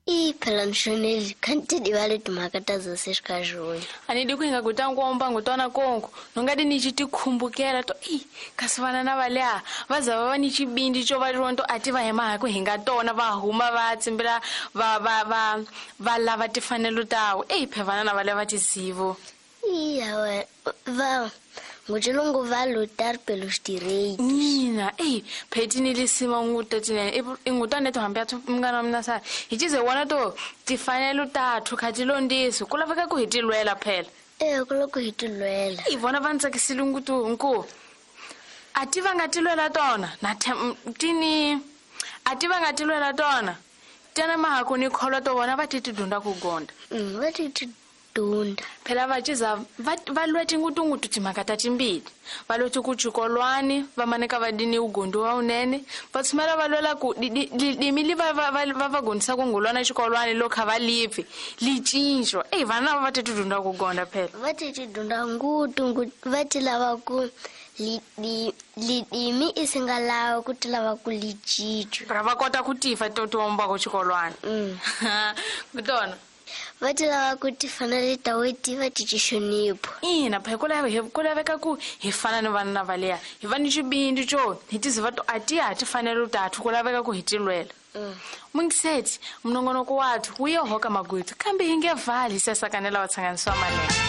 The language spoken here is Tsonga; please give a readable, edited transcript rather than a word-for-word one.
I phela nxoneli khanti divale timhaka ta zose xikajoni. A ni di ku hi nga guta nkomba ngutwana kongo nongadi ni ci tikhumbukela to i kasi vana na valea va za va va ni xivindzi xo va ronto a ti va hi mahaku hi nga tona va huma va tsimbela va va va va lava timfanelo tawo eyi phe vana na valea va tizivo. Iya we va ngutshilungu va lutar pelos direitos. Nina eyi pheti ni lisima nguta tinene ingutwane to hambi athu mngana wa mina sa hi cize wona to timfanelo tathu kha ti londiso ku laveka ku hi ti lwela phela. Ee ku loko hi ti lwela. I vona va ni tsakisile ngutu nku a ti va nga ti lwela tona na tini a ti va nga ti lwela tona tena mahaku ni kholwa to vona va ti ti dunda ku gonda. Va ti ti dunda. Phela va ciza va lweti ngutungutu timhaka ta timbili va lweti ku xikolwani va maneka va dini ugondi wa unene va tshumela va lwela ku lidimi li va va va va gondisa ku ngulwana xikolwani lo kha va lipfi li cinco eyi vana lava va ti ti dunda ku gonda phela. Va ti ti dunda ngutu va ti lava ku lidimi i si nga lava ku ti lava ku li cinco. Ra va kota ku tifa to tiwombako xikolwani. Kutona va ti lava ku ti fana le ta weti va ti xixonipho. Ina phe ku laveka ku hi fana ni vana va leya hi va ni xivindzi xo hi tiziva to a ti ha ti fanele tathu ku laveka ku hi ti lwela. Mungiseti minongonoko wathu wu ye hoka magwethu kambe hi nge vali sesakanela wa tshanganisiwa manene.